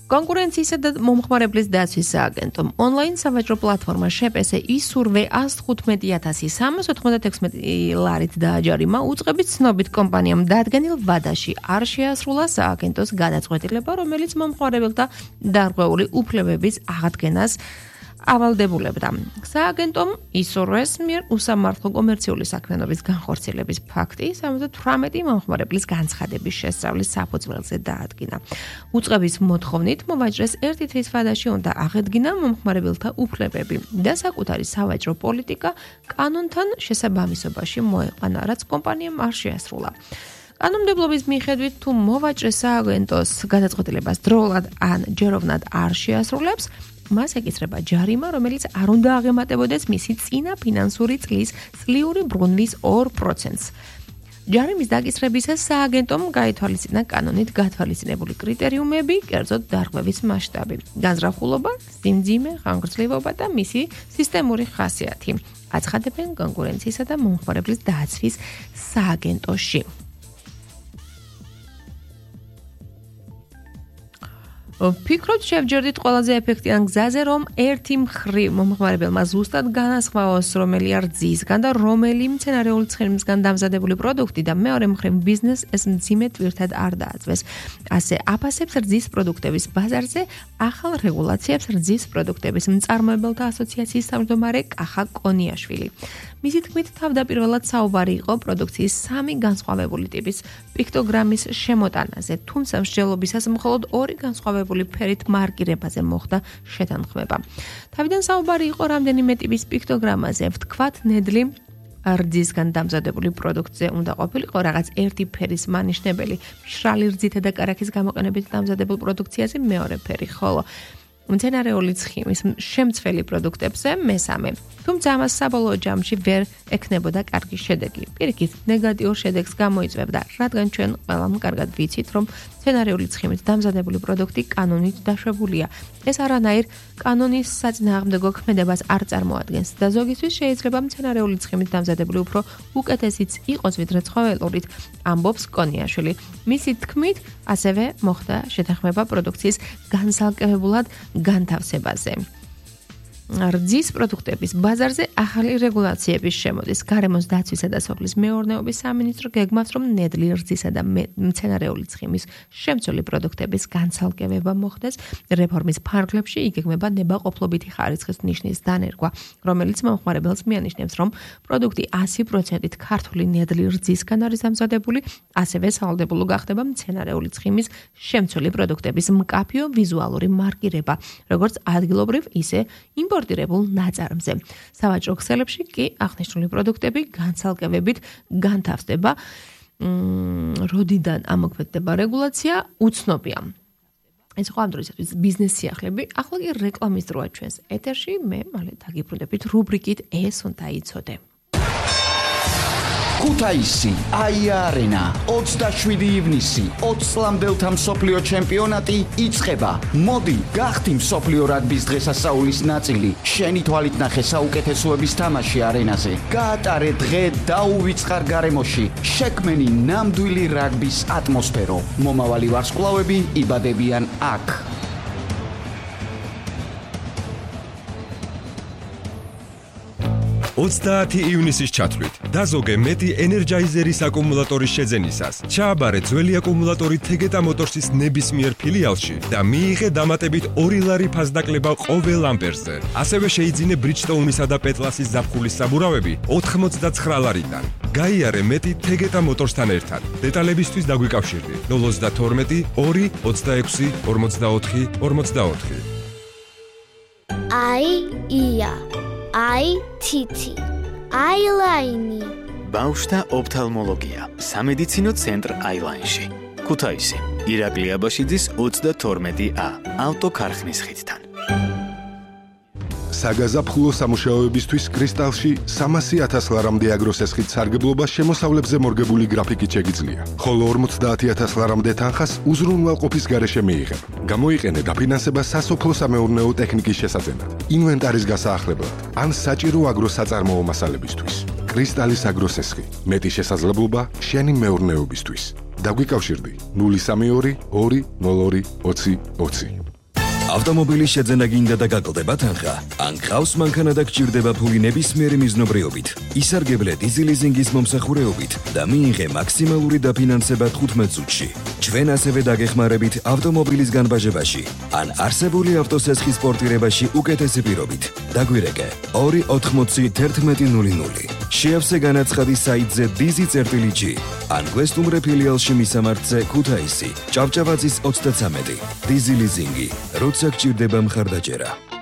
კონკურენციისა და მომხმარებლის დაცვის სააგენტომ ონლაინ სავაჭრო პლატფორმა შეპესე ისურვე 115,396 ლარით დააჯარიმა უწყებით ცნობით კომპანიამ დადგენილ ვადაში არ შეასრულა სააგენტოს გადაწყვეტილება, რომელიც მომხმარებელთა დარღვეული უფლებების აღდგენას ავალდებულებდა. სააგენტომ ისურვეს მიერ უსამართლო კომერციული საქმიანობის განხორციელების ფაქტი 78 მომხმარებლის განცხადების შესწავლის საფუძველზე დაადგინა. უწყების მოთხოვნით მოვაჭრეს ერთი თვის ვადაში უნდა აღედგინა მომხმარებელთა უფლებები და საკუთარი სავაჭრო პოლიტიკა კანონთან შესაბამისობაში მოეყვანა, რაც კომპანიამ არ შეასრულა. კანონმდებლობის მიხედვით თუ მოვაჭრე სააგენტოს გადაწყვეტილებას დროულად ან ჯეროვნად არ შეასრულებს, მას ეკისრება ჯარიმა, რომელიც არ უნდა აღემატებოდეს მისი წინა ფინანსური წლის წლიური ბრუნვის 2%-ს. ჯარიმის დაკისრებისას სააგენტომ გაითვალისწინა კანონით გათვალისწინებული კრიტერიუმები, კერძოდ დარღვევის მასშტაბი, განზრახულობა, სიმძიმე, ხანგრძლივობა და მისი სისტემური ხასიათი. აცხადებენ კონკურენციისა და მომხმარებლის დაცვის სააგენტოში. ფიქრობთ შევჯერდით ყველაზე ეფექტიან გზაზე, რომ ერთი მხრივ მომხმარებელმა ზუსტად განასხვაოს, რომელი რძისგან და რომელი მცენარეული ცხენისგან დამზადებული პროდუქტი და მეორე მხრივ ბიზნეს ეს მძიმე ტვირთად არ დააწვეს. ასე აფასებს რძის პროდუქტების ბაზარზე ახალ რეგულაციებს რძის პროდუქტების მწარმოებელთა ასოციაციის თავმჯდომარე კახა კონიაშვილი. მისი თქმით, თავდაპირველად საუბარი იყო პროდუქციის 3 განსხვავებული ტიპის პიქტოგრამის შემოტანაზე, თუმცა მსჯელობისას მხოლოდ 2 განსხვავებული ფერით მარკირებაზე მოხდა შეთანხმება. თავიდან საუბარი იყო რამდენიმე ტიპის პიქტოგრამაზე, ვთქვათ, ნედლი რძისგან დამზადებული პროდუქტზე უნდა ყოფილიყო რაღაც ერთი ფერის მანიშნებელი, მშრალი რძითა და კარაქის გამოყენებით დამზადებულ პროდუქციაზე მეორე ფერი, ხოლო მცენარეული ცხიმის შემცველი პროდუქტებზე მესამე. თუმცა ამას საბოლოო ჯამში ვერ ექნებოდა კარგი შედეგი. პირიქით, ნეგატიურ შედეგს გამოიწვევდა, რადგან ჩვენ ყველამ კარგად ვიცით, რომ მცენარეული ცხიმით დამზადებული პროდუქტი კანონით დაშვებულია. ეს არანაირ კანონის საწინააღმდეგო ქმედებას არ წარმოადგენს და ზოგისთვის შეიძლება მცენარეული ცხიმით დამზადებული უფრო უკეთესიც იყოს ვიდრე ცხოველურით, ამბობს კონიაშვილი. მისი თქმით, ასევე მოხდა შეთანხმება პროდუქციის განსალკევებულად განთავსებაზე. რძის პროდუქტების ბაზარზე ახალი რეგულაციების შემოდის. გარემოს დაცვისა და სოფლის მეურნეობის სამინისტრო გეგმავს, რომ ნედლი რძისა და მცენარეული ცხიმის შემცველი პროდუქტების განცალკევება მოხდეს. რეფორმის ფარგლებში იგეგმება ნებაყოფლობითი ხარისხის ნიშნის დანერგვა, რომელიც მომხმარებელს მიანიშნებს, რომ პროდუქტი 100%-ით ქართული ნედლი რძისგან არის დამზადებული, ასევე სავალდებულო გახდება მცენარეული ცხიმის შემცველი პროდუქტების მკაფიო ვიზუალური მარკირება, როგორც ადგილობრივ, ისე იმპორტირებულ ნაწარმზე. სავაჭრო ქსელებში კი აღნიშნული პროდუქტები განცალკევებით განთავსდება. როდიდან ამოქმედდება რეგულაცია, უცნობია. ეს ხო ამ დროისათვის ბიზნეს სიახლეები, ახლა კი რეკლამის დროა ჩვენს ეთერში, მე მალე დაგიბრუნდებით რუბრიკით ეს უნდა იცოდე. ქუთაისი, აია-არენა, 27 ივნისი, 20 წლამდელთა მსოფლიო ჩემპიონატი იწყება. მოდი, გახდი მსოფლიო რაგბის დღესასწაულის ნაწილი. შენი თვალით ნახე საუკეთესოების თამაში არენაზე. გაატარე დღე დაუვიწყარ გარემოში. შექმენი ნამდვილი რაგბის ატმოსფერო. მომავალი ვარსკვლავები იბადებიან აქ. 30 ივნისის ჩათვლით დაზოგე მეტი ენერჯაიზერის აკუმულატორის შეძენისას. ჩააბარე ძველი აკუმულატორი თეგეტა მოტორსის ნებისმიერ ფილიალში და მიიღე დამატებით 2 ლარი ფასდაკლება ყოველ ამპერზე. ასევე შეიძინე ბრიჯსტოუნისა და პეტლასის ზაფხულის საბურავები 89 ლარიდან. გაიარე მეტი თეგეტა მოტორსთან ერთად. დეტალებისთვის დაგვიკავშირდი 032 2 26 44 44. ია აი თითი აილაინი ბავშვთა ოფთალმოლოგია სამედიცინო ცენტრ აილაინში ქუთაისი ირაკლი აბაშიძის 32A ავტოქარხნის ხიდთან. საგაზაფხულო სამუშაოებისთვის კრისტალში 300,000 ლარამდე აგროს ესხით სარგებლობა შემოსავლებზე მორგებული გრაფიკით შეგიძლია, ხოლო 50,000 ლარამდე თანხას უზრუნველყოფის გარეშე მიიღებ. გამოიყენე დაფინანსება სასოფლო-სამეურნეო ტექნიკის შესაძენად, ინვენტარის გასაახლებლად ან საჭირო აგროს საწარმოო მასალებისთვის. კრისტალის აგროს ესხი, მეტი შესაძლებლობა შენი მეურნეობისთვის. დაგვიკავშირდი 032 202 20 20. ავტომობილის შეძენა გინდა და გაკლდება თანხა, ან გყავს მანქანა და გჭირდება ფული ნებისმიერი მიზნობრიობით, ისარგებლე დიზილიზინგის მომსახურეობით და მიიღე მაქსიმალური დაფინანსება 15 წუთში. ჩვენ ასევე დაგეხმარებით ავტომობილის განბაჟებაში, ან არსებული ავტოსესხის პორტირებაში უკეთესი პირობით. დაგვირეკე 2801100. შეავსე განაცხადი საიტზე dizi.g ან გვესტუმრე ფილიალში მისამართზე ქუთაისი, ჭავჭავაძის 33. დიზილიზინგი, როცა გჭირდება მხარდაჭერა.